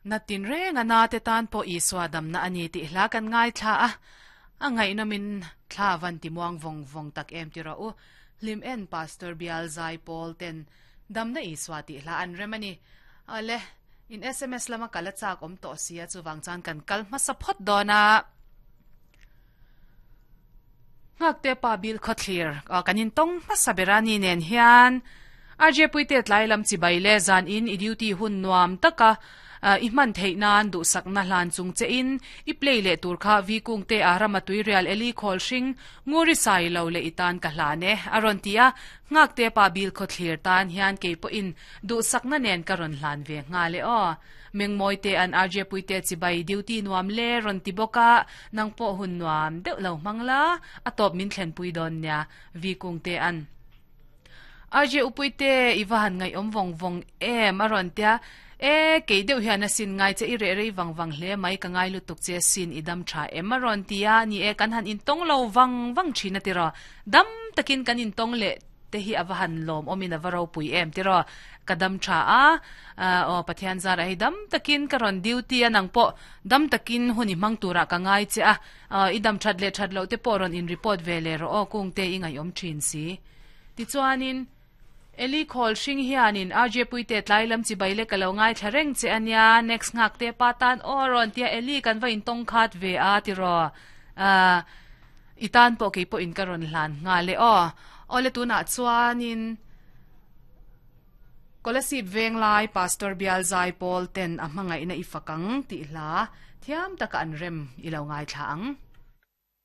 Na tinreng a na te tan pawh Isua damna a ni tih hla kan ngaithla a, a ngaihnawmin thla van ti muang vawng vawng tak em ti rawh u. Hlim en Pastor Bial Zai Pawl ten Damna Isua tih hla an rem a ni. Awle, in sms lama kal a chak awm tawh si a, chuvang chuan kan kal hmasa phawt dawn a. Nghakte pa bil khawthlir kan intawng hmasa ber a ni nen hian RJ Puite tlai lam chibai leh zan in i duty hun nuam taka i hman theih nan duhsakna hlan chung che in i play leh tur kha Vi Kungte a rama tuirial Eli khawl hring Nguri sai lo leh i tan ka hlan e a rawn ti a, Nghakte pa bil khawthlir tan hian kei pawhin duhsakna nen ka rawn hlan ve nghal e aw. Mengmawite an RJ Puite chibai duty nuam le rawn ti bawk a, nang pawh hun nuam deuh lo hmang la, a tawp min thlenpui dawn nia, Vi Kungte an. RJ Upuite i va han ngaihawm vawng vawng em a rawn tia, e kei deuh hian a sin ngai che i reh rei vang vang hle mai ka ngai lutuk che sin i dam tha em a rawn ti a, ni e kan han intawng lo vang vang thin a tiraw, dam takin kan intawng leh te hi a va han lawm awmin a va ropui em tiraw ka dam tha a aw Pathian zarah hei dam takin ka rawn duty a nang pawh dam takin hun i hmang turah ka ngai che a i dam that leh that loh te pawh rawn in report ve leh rawh aw kung te i ngaihawm thin si tichuanin Eli khawl hring hianin RJ Puite tlai lam chibai leh ka lo ngaithla reng che ania next nghak te pa tan aw rawn tia Eli kan va intawng khat ve a tiraw I tan pawh kei pawhin ka rawn hlan nghal e aw. Awle tunah chuanin Kolasib Venglai Pastor Bial Zaipawl ten a hmangaihna i fak ang tih hla thiam taka an rem i lo ngaithla ang.